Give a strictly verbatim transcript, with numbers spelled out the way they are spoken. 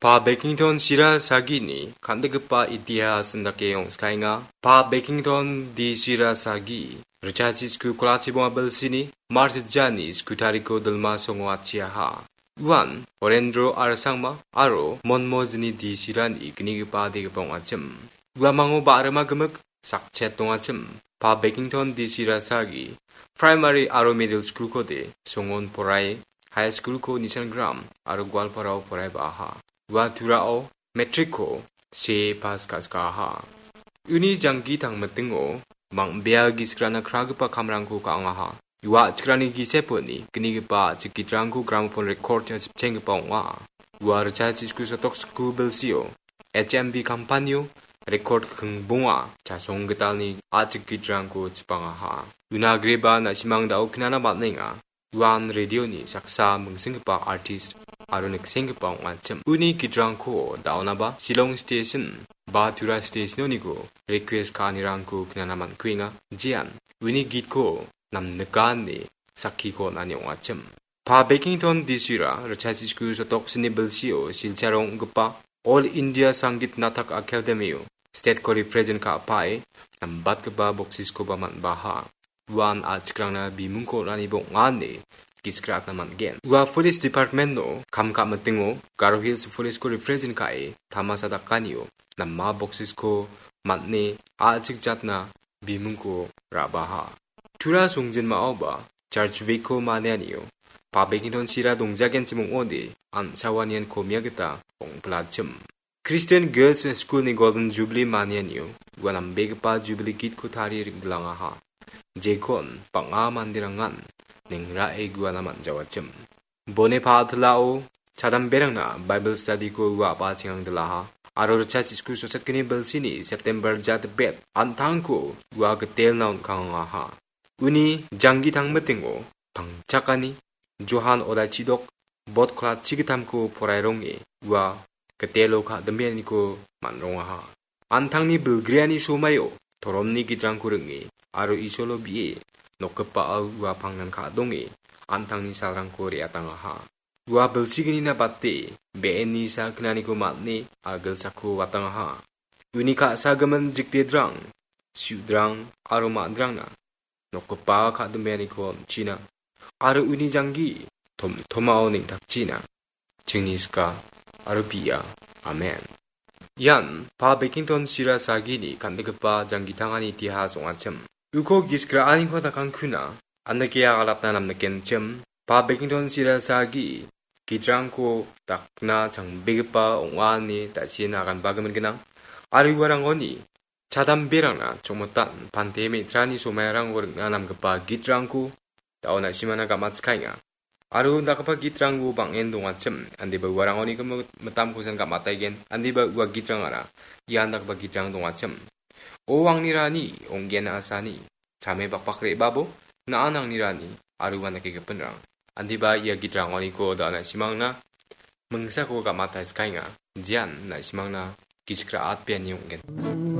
Pa Bekington Sira Sagini kan·dikgipa itihasan dake ong·skaenga. Pa Bekington D Sira Sagi, richachi sku kolachibonga bilsini, Mars jani sku tariko dilma songo atchiaha. Uan Horendro Arsangma aro Monmojini D Sirani gnigipa adigipa ong·achim. Uamango ba·rima gimik sakchet dongachim. Pa Bekington D Sira Sagi, Primary aro Middle School-kode songon poraie, High School-ko Nishan Gram aro Goalparao poraiba·aha. Ua turao Matric-ko see pas ka·skaha. Uni janggi tangmitingo bang·bea gisik ra·na kragipa kamrangko ka·angaha. Ua a·chikrangni giseponi gnigipa a·chik gitrangko gramopon record-na sipchenggipa ong·a. Ua richachi sku sotok sku bilsio H M V kampanio record kingbonga chasong gitalni a·chik gitrangko chipangaha. Una agreba na·simang da·o knana man·enga. Uan radio-ni saksa mingsenggipa artist aro niksenggipa ong·achim. Uni gitrangko da·onaba Shillong Station ba Tura Station-oniko request ka·anirangko knana man·kuenga. Jean uni gitko namnikani sakkiko on·ani ong·achim. Pa Bekington D Sira, richachi sku sotok sini bilsio Silcharo ong·gipa All India Sangit Natak Academy-o state-ko represent ka·apae nambatgipa boksiskoba man·baha. Uan a·chikrangna bimungko on·ani bong·a ine gisik ra·atna man·gen. Ua Police Department-o kam ka·mitingo Garo Hills Police-ko represent ka·e tamasa dakanio nama boksisko man·e a·chik jatna bimungko ra·baha. Tura songjinmaoba Church Week-ko manianio Pa Bekington Sira dongjagenchim ong·ode, an·sawa nian komia gita ong·pilachim. Christian Girls School-ni Golden Jubilee manianio ua nambegipa Jubilee gitko tarie ring·gilangaha. Jekon bang·a manderangan ningrae guana man·jawachim. Bone pa·atilao chadamberangna Bible study-ko ua a·bachengang dilaha. Aro richachi sku sotchetgni bilsini September jatbet an·tangko ua gitelna on·kangaha. Uni janggi tangmitingo pangchakani Johan Odaichidok bot klatchi gittamko porairong·e ua gitelo ka·dimianiko man·rongaha. An·tangni bilgreani somaio toromni gitrangko ring·e aro Isolo bi·e nokgipao ua pangnan ka·donge an·tangni salrangko re·atangaha. Ua bilsignina bate be·enni sakgnaniko man·e agilsako watangaha. Uni ka·sagimin jikdedrang, su·drang aro man·drangna nokgipa ka·dimianiko on·china, aro uni janggi tomtomao neng·takchina. Chingni sika aro bi·a. Amen. Ian Pa Bekington Sira Sagini kan·gipa janggitangani itihas ong·achim. Uko gisik ra·aniko dakangkuna, andake agatna namnikenchim. Pa Bekington Sira Sagi gitrangko dakna changbegipa ong·a ine da·sien aganbagimin gnang. Aro uarangoni chadamberangna chongmitan pante me·trani somairangko ring·na namgipa gitrangko da·o na·simana gam·atskaenga. Aro dakgipa gitrangko bang·en dongachim, andeba uarangoni gimik mitamkosan gam·ataigen, andeba ua gitrangara ian dakgipa gitrang dongachim. O angni rani, ong·gen a·sani, chame bakbak re·babo, na·an angni rani, aro uan dake gipinrang. Andeba ia gitrangoniko da·o na·simangna mingsako gam·ataiskaenga, jean na·simangna gisik ra·atbeani ong·gen.